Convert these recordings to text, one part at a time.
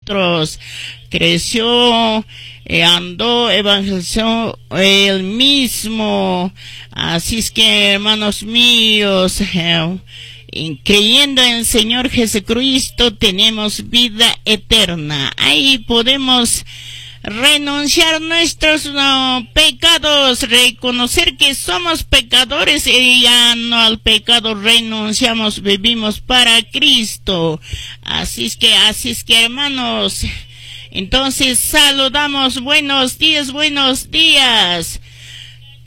nosotros. Creció, andó, evangelizó él mismo. Así es que, hermanos míos, creyendo en el Señor Jesucristo tenemos vida eterna. Ahí podemos renunciar nuestros pecados, reconocer que somos pecadores y ya no al pecado renunciamos, vivimos para Cristo. Así es que, hermanos, entonces saludamos, buenos días, buenos días.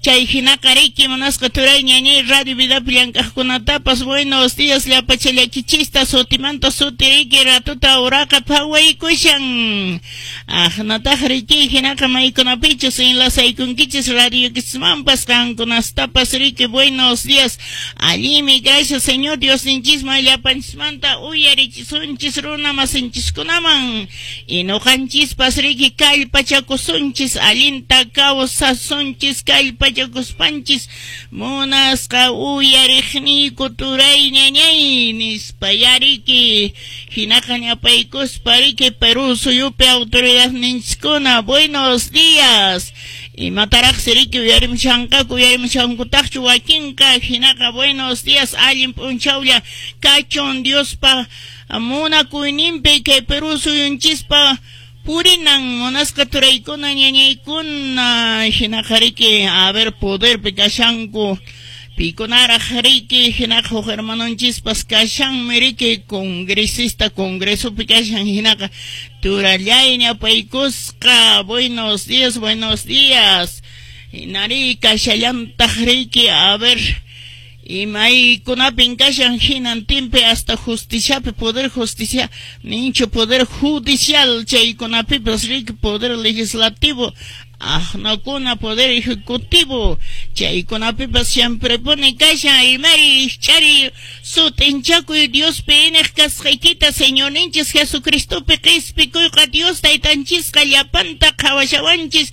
Chay hinaqa riki, munasqa turay, ñañay, Radio Vidapi llank'aqkunatapas buenos días llapachallakichista, sutimanta suti riki ratuta uraqa phawaykushan. Aqnataq riki hinaqa maykunapichus enlazaykunkichis radiokismanpas qankunastapas riki buenos días. Allimi, gracias Señor Diosninchisman llapanchismanta uyarichisunchis runa masinchiskunaman y nuqanchispas riki kallpachakusunchis allinta kawsasunchis kallpa kallpachakuspanchis munasqa uyariqniyku turay, ñañay, nispa yariki hinaqa ñapaykuspa riki Perú suyupi autoridadninchiskuna buenos días. Imataraqsi riki uyarimushanqaku, uyarimushankutaqchu wakinqa. Hinaqa buenos días, allin p'unchawlla kachun, Diospa munakuyninpi kay Perú suyunchispa purinan, munasqa turaykuna, ñañaykuna. Hinaqa riki, a ver, poderpi kashanku pikunaraq riki. Hinaqa huk hermanonchispas kashanmi riki congresista, congresopi kashan. Hinaqa turallay, ñapaykusqa, buenos días, buenos días. Hinari kashallantaq riki, a ver, imaykunapin kashan hinantinpi, hasta justiciapi, poder justicia ninchu, poder judicial chaykunapipas riki, poder legislativo aqnakuna, poder ejecutivo chaykunapipas siempre pone kashan. Imari chari sut'inchakuy Diospi iñiq kasqaykita, Señorninchis Jesucristopi qispikuyqa. Dios taytanchisqa llapanta qhawashawanchis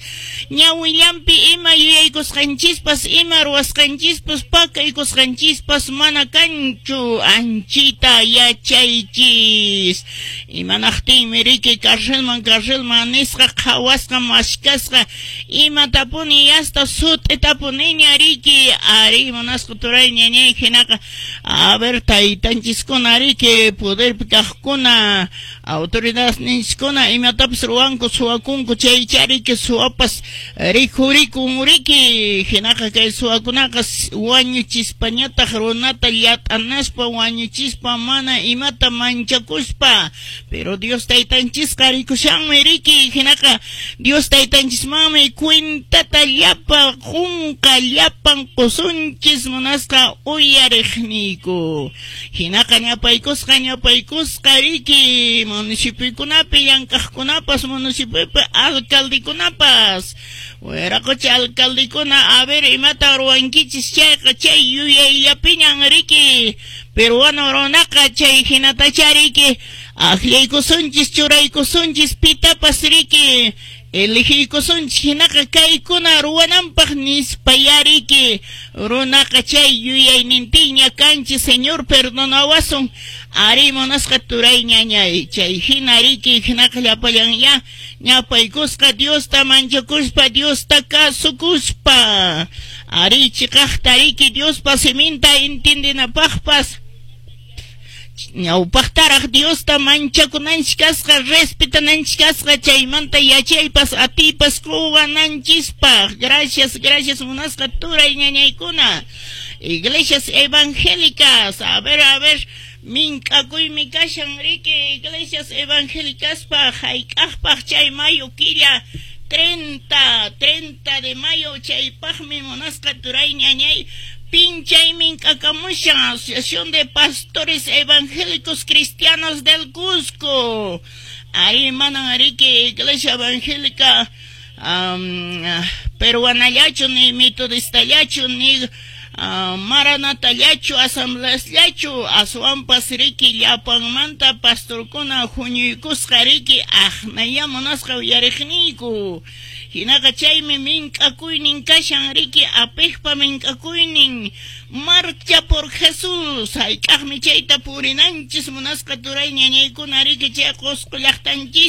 ñawillanpi, ima yuyaykusqanchispas, ima ruwasqanchispas, pakaykusqanchispas mana kanchu, anchita yachaychis. Imanaqtinmi riki carcelman carcelman nisqa qhawasqa mashkasqa imatapuni hasta sut'itapuniña riki. Ari, munasqa turay, ñañay, hinaqa a ver, taytanchiskuna riki, poderpi kaqkuna, autoridadninchiskuna imatapas ruwanku, suwakunku chaycha riki, suwapas rikhurikun riki. Hinaqa kay suwakunaqa wañuchispañataq runata llat'anaspa wañuchispa mana imata manchakuspa, pero Dios taytanchisqa rikushanmi riki. Hinaqa Dios taytanchismanmi cuentata llapa qunqa, llapan qusunchis, munasqa uyariqniyku. Hinaqa ñapaykusqa, ñapaykusqa riki municipiokunapi llank'aqkunapas, municipiopi alcaldekunapas, wiraqocha alcaldekuna, a ver, imata ruwankichis chayqa chay yuyayllapiñan riki peruano runaqa chay hinatacha riki akllaykusunchis, churaykusunchis pitapas riki, elegiykusunchis hinaqa kaykuna ruwananpaq nispa yariki runaqa chay yuyaynintinña kanchis. Señor perdonawasun. Ari, munasqa turay, ñañay, chay hina riki. Hinaqa llapallan ya ñapaykusqa Diosta manchakuspa, Diosta kasukuspa, ari chiqaqta riki Diospa siminta entiendenapaqpas ñawpaqtaraq Diosta manchakunanchis kasqa, respetananchis kasqa, chaymanta yachaypas atiypas quwananchispaq. Gracias, gracias, munasqa turay, ñañaykuna. Iglesias evangélicas, a ver, a ver, mink'akuymi kashan riki iglesias evangélicaspaq hayk'aqpaq chay mayo killa 30, 30 de mayo chaypaqmi, munasqa turay, ñañay, pinchay mink'akamushan Asociación de Pastores Evangélicos Cristianos del Cusco. Ari, manan riki iglesia evangélica peruanallachu, ni metodistallachu, ni maranatallachu, asambleasllachu, aswanpas riki llapanmanta pastorkuna huñuykusqa riki aqnaya, munasqa uyariqniyku. Hinaqa chaymi mink'akuynin kashan riki, apiqpa mink'akuynin, Marcha por Jesús. Hayk'aqmi chayta purinanchis, munasqa turay, ñañaykuna, riki chay Qusqu llaqtanchis?